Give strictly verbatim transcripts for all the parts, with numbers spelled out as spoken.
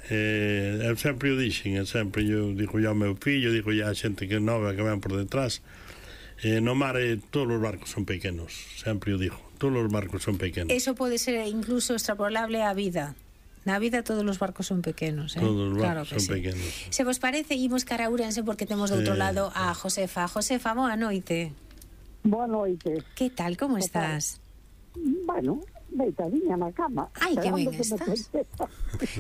Eh, eu sempre o dixen, eu sempre eu digo ao meu fillo, digo a xente que nova que ven por detrás, eh, no mar eh, todos os barcos son pequenos, sempre o digo, todos os barcos son pequenos. Eso pode ser incluso extrapolable á vida. Na vida todos os barcos son pequenos, eh? Todos os claro barcos son sí. pequenos. Se vos parece, imos cara a Ourense porque temos do outro Eh, lado a Josefa. Josefa, boa noite. Boa noite. Que tal, como estás? Bueno, deitadinha na cama. Ai, que ben esperando estás. me contesta.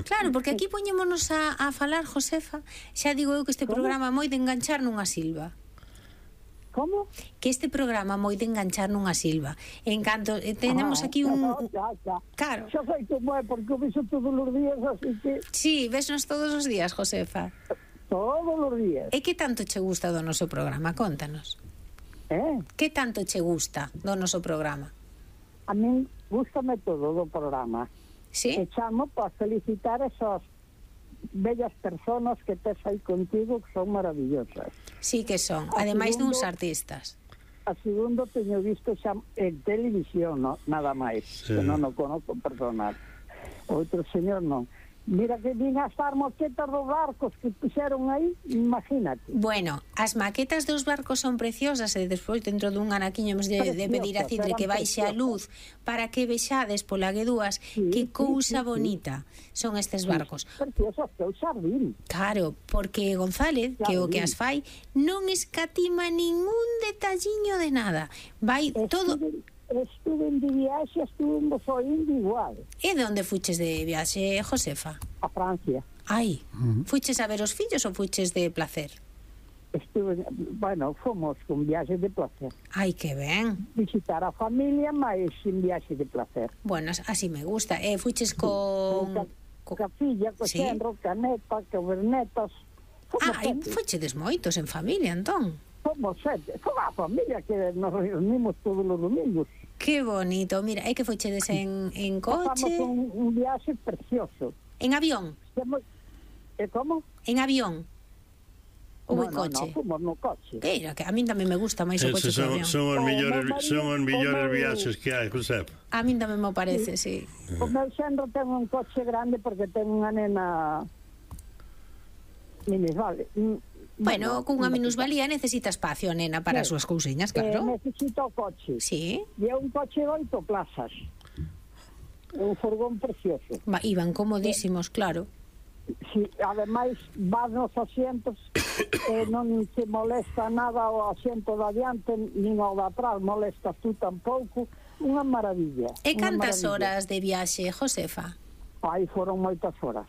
Claro, porque aquí poñémonos a, a falar, Josefa. Xa digo eu que este Como? programa moi de enganchar nunha silva. Como? Que este programa moi de enganchar nunha silva. En canto eh, tenemos Ah, aquí un... no, ya, ya. Claro. Xa sei como é, porque o viso todos os días, así que Sí, vesnos todos os días, Josefa. todos os días. E que tanto che gusta do noso programa? Contanos. Eh? Que tanto che gusta do noso programa? A min gústame todo do programa. Sí? E chamo para felicitar esas bellas personas que tes aí contigo, que son maravillosas. Sí que son. A Ademais segundo- duns artistas. A segundo teño visto xa en televisión, no, nada máis, Sí. que non o conozco personal. Outro señor non. Mira que vin as maquetas dos barcos que puxeron aí, imagínate. Bueno, as maquetas dos barcos son preciosas e despois dentro dun anaquiño hemos de, de pedir a Cidre que baixe a luz para que vexades pola guedúas Sí, que sí, cousa sí, sí. bonita son estes barcos. Preciosas que eu xa vin. Claro, porque González, que o que as fai, non escatima ningún detalliño de nada. Vai todo... Estuve, estuve de viaxe, estuve en Bozoín igual, E de onde fuches de viaxe, Josefa? a Francia. Ai, fuches a ver os fillos ou fuches de placer? Estuve, bueno, fomos con viaxe de placer. Ai, que ben. Visitar a familia, mas sin viaxe de placer. Bueno, así me gusta. E fuches con... Ca, ca filla, co Sí. xenro, ca neta, ca vernetas. Fomos Ah, e sete. fuchedes moitos en familia, entón. Fomos sete. Fomos a familia que nos reunimos todos os domingos. Que bonito. Mira, é que fuchedes en, en Pasamos coche, un, un viaxe precioso. en avión, Fomos, e como? en avión. Ou en no, coche. no, fomos no coche. Que era, que a min tamén me gusta máis o coche Esos que o son, avión. son os O millores, meu marido- son os millores o meu- viaxes que hai, José. A min tamén me parece, sí. O meu xenro ten un coche grande porque ten unha nena minusvale. Bueno, cunha minusvalía necesita espacio, nena, para as Sí. súas cousiñas, Eh, claro. necesita o coche. Sí, E é un coche de oito plazas. É un furgón precioso. Va- iban comodísimos, claro. Si, ademais, vas nos asientos e non se molesta nada o asiento de adiante nin o de atrás, molestas tú tampouco. Unha maravilla. E unha cantas maravilla. horas de viaxe, Josefa? Aí foron moitas horas.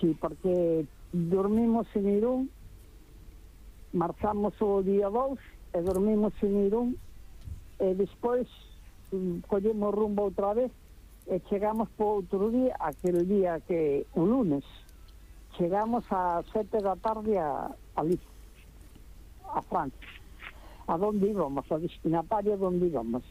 Sí, porque dormimos en Irún, marchamos o día dous e dormimos en Irún e despois mm, collemos rumbo outra vez e chegamos por outro día, aquel día que o lunes chegamos a sete da tarde a, a Liz, a Francia. A donde íbamos, a destinatario donde íbamos.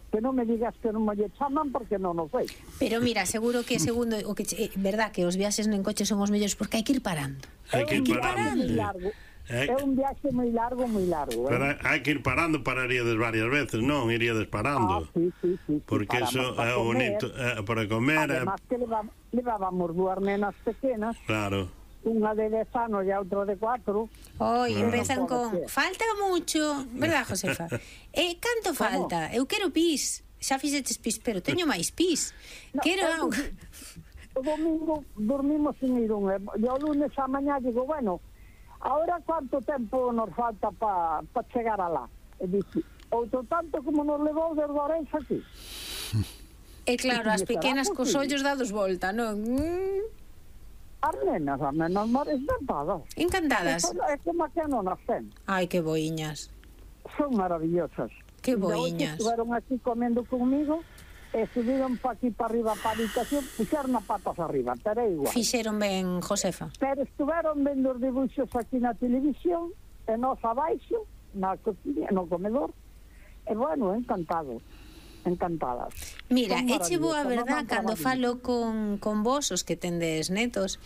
Que non me digas que non me lle chaman porque non o sei. Pero mira, seguro que segundo o que che- eh, verdad que os viaxes en coche son os mellores porque hai que ir parando. Hai que ir É un parando. viaxe moi largo. Eh, É un viaxe moi largo, moi largo. Pero Eh? hai que ir parando, pararíades varias veces, non? Iríades Ah, parando. sí, sí, sí, sí, Porque paramos eso para é o comer. bonito, é, para comer, é, Además que leva, levábamos dúas nenas pequenas, claro. unha de dez anos e a outra de cuatro. Hoy Claro. empezan Non pode con ser. falta mucho, verdad, Josefa? E canto falta? Eu quero pis. Xa fixeches pis, pero teño máis pis. No, Quero é auga. que O domingo dormimos en Irún e e o lunes a mañá digo, bueno, ahora cuánto tempo nos falta para pa chegar alá? E dice, outro tanto como nos levou desde Orense aquí. E claro, as Estará pequenas cos posible. ollos dados volta, non? Mm, As nenas, as nenas mores encantadas. encantadas. É como que non as ten. Ai, que boiñas. Son maravillosas. Que E hoxe boiñas. Estuveron aquí comendo conmigo e subiron pa aquí para arriba para a habitación, puxeron as patas arriba, pero é igual. Fixeron ben, Josefa. Pero estuveron vendo os dibuixos aquí na televisión e nós abaixo, na cociña, no comedor, e bueno, encantado, encantadas. Mira, Son eche boa maravillosas, verdad non cando maravillosas. falo con, con vos, os que tendes netos,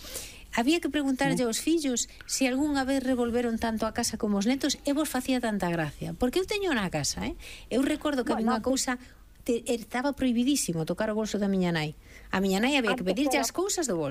había que preguntarlle aos fillos se algunha vez revolveron tanto a casa como os netos e vos facía tanta gracia. Porque eu teño na casa, eh? Eu recordo que había Bueno, unha cousa te, estaba prohibidísimo tocar o bolso da miña nai. A miña nai había que Antes pedirlle era- as cousas do bolso.